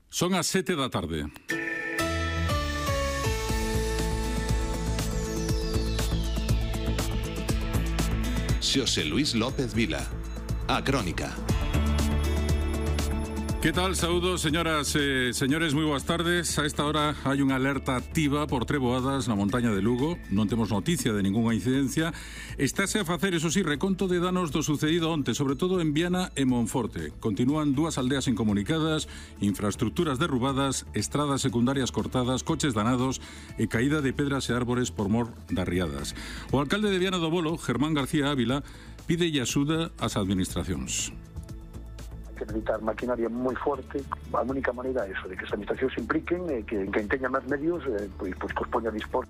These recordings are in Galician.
Son as 7 da tarde. Xosé Luis López Vila, A Crónica. Que tal? Saúdos, señoras e señores, moi boas tardes. A esta hora hai unha alerta activa por treboadas na montaña de Lugo. Non temos noticia de ningunha incidencia. Estáse a facer, eso sí, reconto de danos do sucedido onte, sobre todo en Viana e Monforte. Continúan dúas aldeas incomunicadas, infraestructuras derrubadas, estradas secundarias cortadas, coches danados e caída de pedras e árbores por mor das riadas. O alcalde de Viana do Bolo, Germán García Ávila, pídelle axuda ás administracións. Que necesitar maquinaria moi forte. A única maneira é eso, de que as administracións se impliquen e que quen teña máis medios pois que os poña a dispor.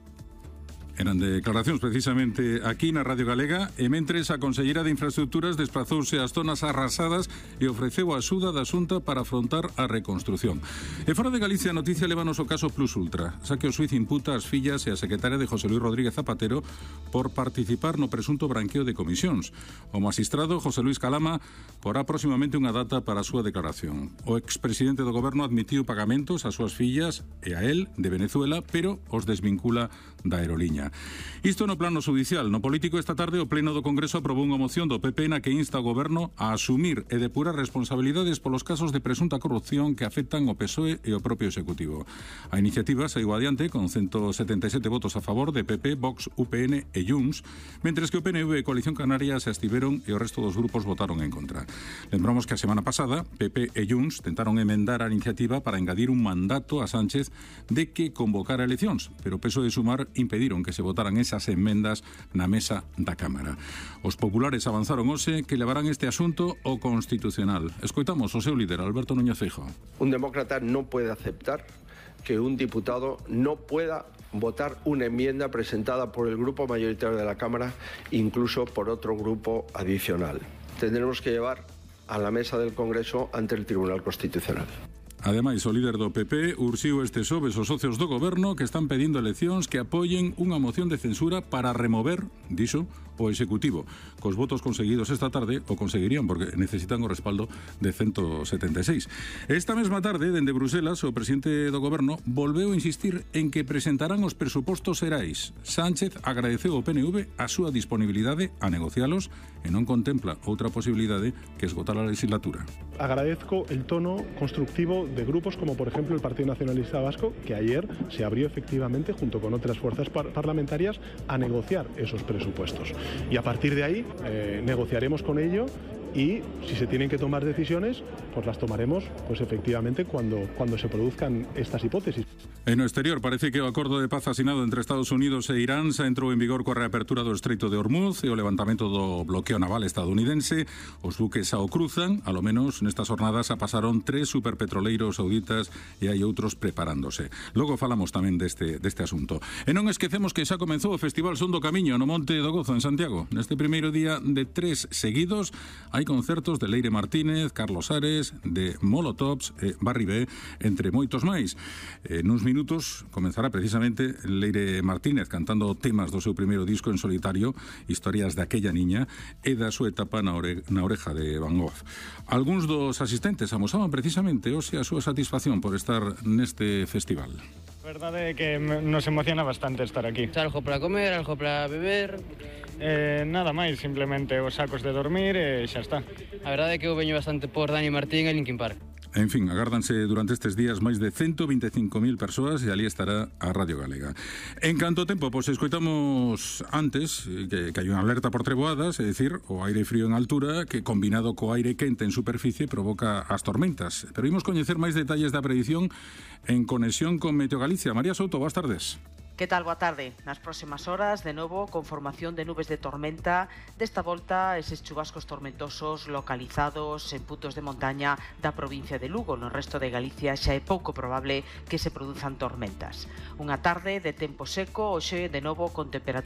Eran declaracións precisamente aquí na Radio Galega e mentres a conselleira de Infraestructuras desprazouse ás zonas arrasadas e ofreceu a axuda da Xunta para afrontar a reconstrución. E fora de Galicia a noticia lévanos o caso Plus Ultra, xa que o xuiz imputa as fillas e a secretaria de José Luis Rodríguez Zapatero por participar no presunto branqueo de comisións. O magistrado José Luis Calama porá próximamente unha data para a súa declaración. O expresidente do goberno admitiu pagamentos ás súas fillas e a él de Venezuela, pero os desvincula da aeroliña. Isto no plano judicial. No político, esta tarde o Pleno do Congreso aprobou unha moción do PP na que insta o Goberno a asumir e depurar responsabilidades polos casos de presunta corrupción que afectan o PSOE e o propio Executivo. A iniciativa saiu adiante con 177 votos a favor de PP, Vox, UPN e Junts, mentres que o PNV e Coalición Canaria se abstiveron e o resto dos grupos votaron en contra. Lembramos que a semana pasada PP e Junts tentaron emendar a iniciativa para engadir un mandato a Sánchez de que convocara eleccións, pero o PSOE e Sumar impediron que se votaran esas enmendas na mesa da Cámara. Os populares avanzaron hoxe que levarán este asunto ao Constitucional. Escoitamos o seu líder, Alberto Núñez Feijóo. Un demócrata no puede aceptar que un diputado no pueda votar una enmienda presentada por el grupo mayoritario de la Cámara, incluso por otro grupo adicional. Tendremos que llevar a la mesa del Congreso ante el Tribunal Constitucional. Ademais, o líder do PP urxiu este xoves os socios do goberno que están pedindo eleccións que apoien unha moción de censura para remover, dixo, o Executivo. Cos votos conseguidos esta tarde o conseguirían porque necesitan o respaldo de 176. Esta mesma tarde, dende Bruselas, o presidente do goberno volveu a insistir en que presentarán os presupostos xerais. Sánchez agradeceu ao PNV a súa disponibilidade a negocialos e non contempla outra posibilidade que esgotar a legislatura. Agradezco el tono constructivo de grupos como por ejemplo el Partido Nacionalista Vasco, que ayer se abrió efectivamente junto con otras fuerzas parlamentarias a negociar esos presupuestos. Y a partir de ahí negociaremos con ello y si se tienen que tomar decisiones, pues las tomaremos pues efectivamente cuando se produzcan estas hipótesis. En o exterior parece que o acordo de paz asinado entre Estados Unidos e Irán xa entrou en vigor coa reapertura do Estreito de Hormuz e o levantamento do bloqueo naval estadounidense. Os buques xa o cruzan, alo menos nestas jornadas a pasaron 3 superpetroleiros sauditas e hai outros preparándose. Logo falamos tamén deste asunto. E non esquecemos que xa comenzou o Festival Son do Camiño no Monte do Gozo en Santiago. Neste primeiro día de 3 seguidos hai concertos de Leire Martínez, Carlos Ares, de Molotovs e Barry B, entre moitos máis. Nuns minutos comenzará precisamente Leire Martínez cantando temas do seu primeiro disco en solitario, Historias de aquella niña, e da súa etapa na oreja de Van Gogh. Algúns dos asistentes amosaban precisamente hoxe a súa satisfacción por estar neste festival. A verdade é que nos emociona bastante estar aquí. Algo para comer, algo para beber. Nada máis, simplemente os sacos de dormir e xa está. A verdade é que eu veño bastante por Dani Martín e Linkin Park. En fin, agárdanse durante estes días máis de 125.000 persoas e ali estará a Radio Galega. En canto tempo, pois escoitamos antes que hai unha alerta por treboadas, é dicir, o aire frío en altura que combinado co aire quente en superficie provoca as tormentas. Pero imos coñecer máis detalles da predición en conexión con Meteo Galicia. María Souto, boas tardes. Que tal? Boa tarde. Nas próximas horas, de novo, con formación de nubes de tormenta, desta volta eses chubascos tormentosos localizados en puntos de montaña da provincia de Lugo. No resto de Galicia xa é pouco probable que se produzan tormentas. Unha tarde de tempo seco, hoxe de novo con temperaturas